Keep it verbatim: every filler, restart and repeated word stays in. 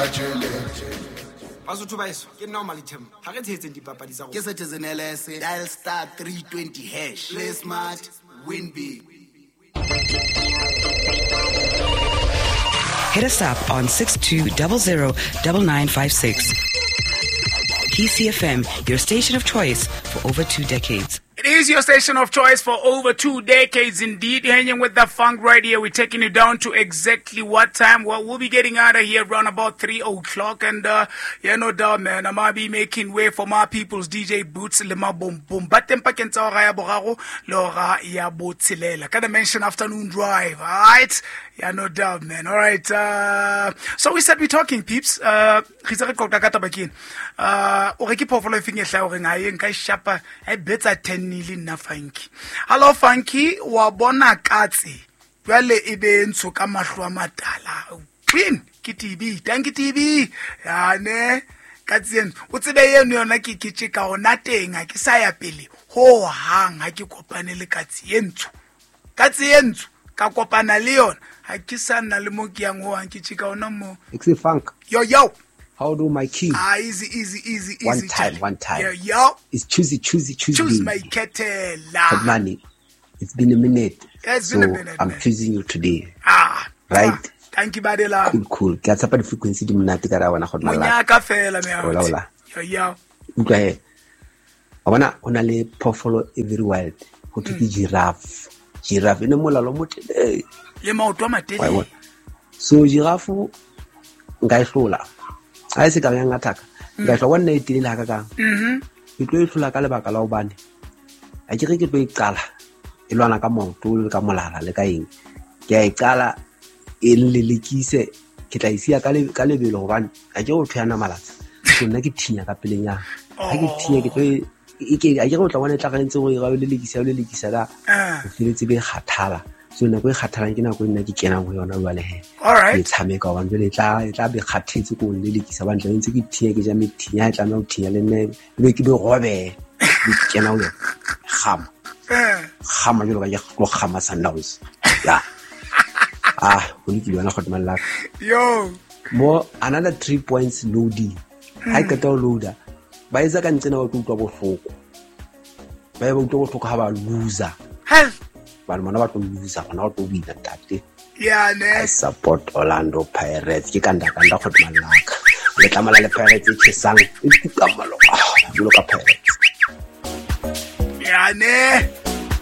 tjhelete. Basotho ba eso ke nna o Malithemba ha re tshehetseng dipapadi tsa rona. Ke Citizen L S, dial star three twenty hash. Play smart, win big. Hit us up on six two zero zero nine nine five six. P C F M, your station of choice for over two decades. It is your station of choice for over two decades indeed. Hanging with the funk right here. We're taking you down to exactly what time? Well, we'll be getting out of here around about three o'clock. And, uh, yeah, no doubt, man. I might be making way for my people's D J Boots, Lema Boom Boom. But then, pakeng tsa hora ya boraro le hora ya botshelela. Ka Dimension Afternoon Drive, all right? Yeah, no doubt, man. All right. Uh, so we said we're talking, peeps. Uh, re itse re qoqa ka taba ke ena. Uh, o re ke phoofolo e feng e hlaha horeng ha e nka e shapa, ha e betsa ten nile nna Funky. Hello Funky, wa bona katse. Jwale e be ntsho ka mahlo a matala. Queen ke T B, thank you T B. Ya ne katse eno. O tsebe eno yona ke ke tjeka ona teng ha ke sa ya pele. Ho hang ha ke kopane le katse e ntsho. Katse e ntsho ka kopana le yona. Ha ke sa nna le mo ke yang ho hang ke tjeka ona mo. It's Funk. Yo yo. How do my king? Ah, easy, easy, easy, easy. One time, one time. Yo, yo. It's choosy, choosy, choosy. Choose my kettle. Money. It's been a minute. Yeah, it's so been a minute. I'm man. choosing you today. Ah. Right? Ah, thank you, Badela. Cool, cool. Ke a tshepa di-frequency di monate ka ra wena go nna la. Monyaka fela, me. Hola, hola. Yo, yo. Utlwa he. Wa bona ho na le phoofolo e very wild. Ho thwe ke giraffe. Giraffe e ne molalo o motelele. Le maoto a matelele. Wa e bona? So giraffe nka e hlola. Ha e se ka yang attack. Nka e hlola wa nna e telele hakakang. Mhm. Ke tlo e hlola ka lebaka la hobane ha ke re ke tlo e qala e lwana ka maoto le ka molala le ka eng. Ke a e qala e nlelekise, ke tla e siya ka le-, ka lebelo hobane ha ke re o thwe ya namalatsa. So nna ke thinya ka pelenyana. Ha ke thinya ke tlo e, e ke, ha ke re o tla bona e tla re ntse o e ra o lelekisa, o lelekisa la, Ah. o feletse be e kgathala. So nako e kgathalang ke nako e nna ke kenang ho yona jwale he. All right. Ke tshameka hobane jwale e tla, e tla be kgathetse ko nlelekisa hobane tla be ntse ke thinya, ke ja methinya, ha e tlameha ho thinya le nna, e be ke be robe. Be ke kena ho yona. Kgama. Eh. Kgama jwalo ka ke tlo kgama Sundowns. Ya. Ah, ho lokile wena kgotso Malaka. Yo. Mo another three points loading. Ha e qeta ho loader, ba etsa ka ntsena ba tlo utlwa bohloko. Ba ba utlwa bohloko ha ba loser. Hell. Ba re bona ba tlo loser, bona ba tlo wina ntate. Yeah, ne. I support Orlando Pirates. Ke kanda kanda kgotso Malaka. Le tlamala le Pirates e tjhesang, e kuka maloka. Jwalo ka Pirates. Yeah, ne.